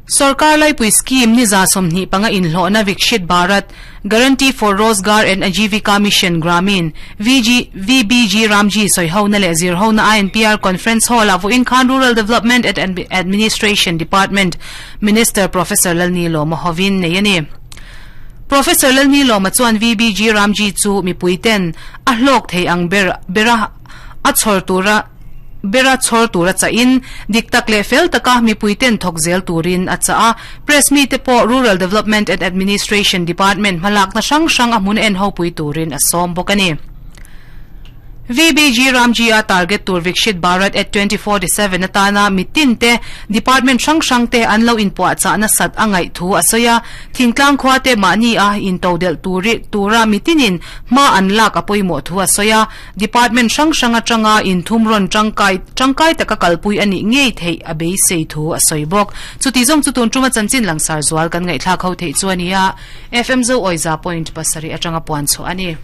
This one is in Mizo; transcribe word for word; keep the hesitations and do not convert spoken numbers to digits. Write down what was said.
Sarkar Laipui scheme ni za sawmhnih panga inhlawhna Viksit Bharat Guarantee for Rozgar and Ajeevika Mission Gramin V G V B G Ramji soihona leh zirhona I N P R Conference Hall a vawiin khan Rural Development and Administration Department Minister Professor Lalnilawma hovin nei ani. Professor Lalnilawma chuan V B G Ramji chu mipuiten a hlawk thei ang ber bera a chhawr tura bera chhawr tura cha in diktak leh fel taka mipuiten thawk zel turin a cha a. Press mi te pawh Rural Development and Administration Department hmalak na hrang hrang a hmun en ho pui turin a sawm bawk ani. V B G Ramji a target tur Viksit Bharat at twenty forty-seven atana mitin te department hrang hrang te an lo in puah cha na sat angai thu asoya thingtlang khwa te mani a in todel turi tura mitinin ma an lak apoimo thu asoya. Department hrang hrang atanga in thumron tangkai tangkai taka kalpui ani ngei thei abei sei thu asoi bok. Chuti zong chu tun tuma chanchin langsar zual kan ngai thla khau thei chuania F M zo oiza point pasari atanga puan chu ani.